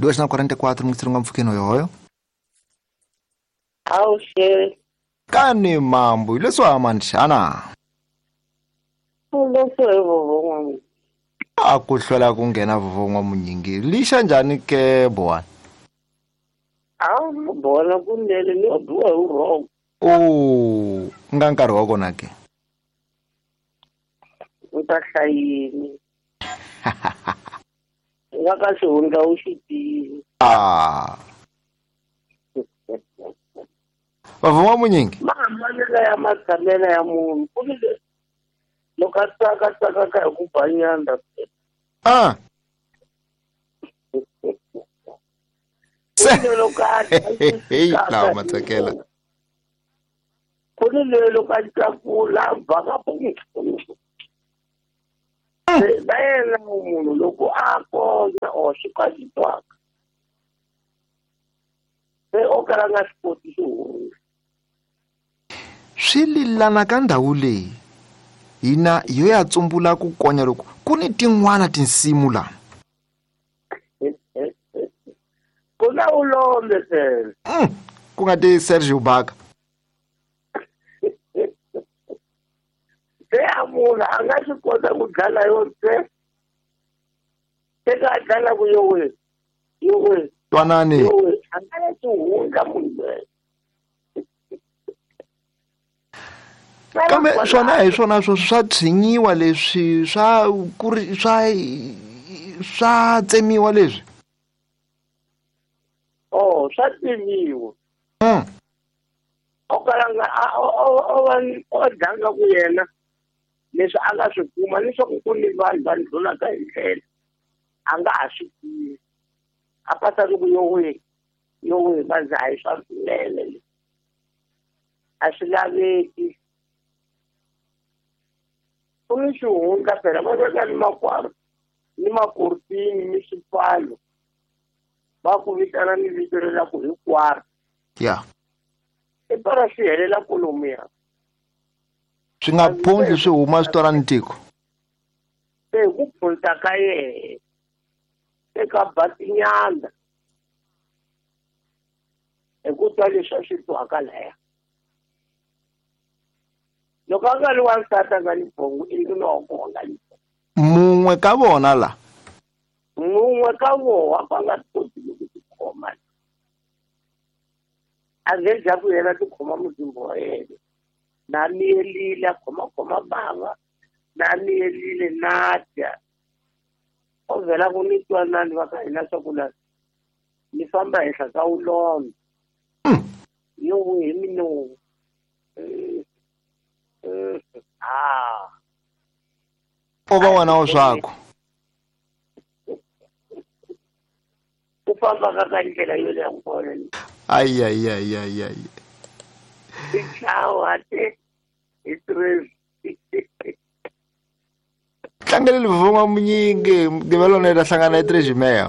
2:44 mungitsiri mpfukeni hoyohoyo. Awuxe. Kani mambo leswi hamani xana? Leswi a ku hlwela ku nghena vovon'wa munyingi lixa njhani ke bowani? A bona kunene ni biwa hi vurhongo. O nga nkarhi wa kona ke? U ta hlayini. Nga ka xihundla u xi tivi. Ah. Vavon'wa munyingi? Mahambanelo ya matshamelo ya munhu ku ni loko a tsaka tsakaka hi ku ba nyanda. Ah. Hey, lawa matsakela. Ku ni leyi loko a tlakula baka va yena munhu loko a konya or swi ka swi twaka se o kala nga swi koti xihundla. Swi lilana ka ndhawu leyi hina yo ya tsumbula ku konya loko ku ni tin'wana tinsimu la. Ku na ulombe phela. Ku nga ti Sergio Baka. Se a munhu a nga swi kota ku dlala yo se se ka dlala ku yowe yowe twanani yowe a nga ya xihundla munhu loyi. Kambe swona hi swona swo swa tshinyiwa leswi swa ku ri swa tsemiwa leswi. Oh, swa tsemiwa. O kala nga o dlanga ku yena leswi a nga swi kuma leswaku ku ni vanhu va ndlulaka hi ndlela a nga ha swi tivi. A pasa ku yowe yowe va a hi swa swinene a swi laveki. Ku ni xihundla phela va veka ni makwaro ni makortini ni swipfalo va ku vitana ni vito leri ku hinkwaro. Ya. I para swi helela kolomuya. Swi nga phundli swi huma swi twala ni tiko. Se hi ku phunta ka yehe eka batinyana hi ku twa leswi a swi twaka laya. Loko a nga ri wansati a nga ni bongo i ndlula wa kona nga ni bongo. Mun'we ka vona la? Mun'we ka vona va nga koti ku tikhoma. A nge dya ku yena tikhoma muzimba wa yena. Na miyelile a khomakhoma bava na miyelile na dya. O vhela ku ni twanani va ka hina swa ku la ni famba henhla ka ulombe. Yo hi minomu. Ah. O va wena wa swaku. Ku famba ka ka ndlela yo leha kona. Ay ay ay ay ay. Ciao ate. Itrez. Tlangele livonga munyingi mugqivelo ne ta hlangana eTrejimea.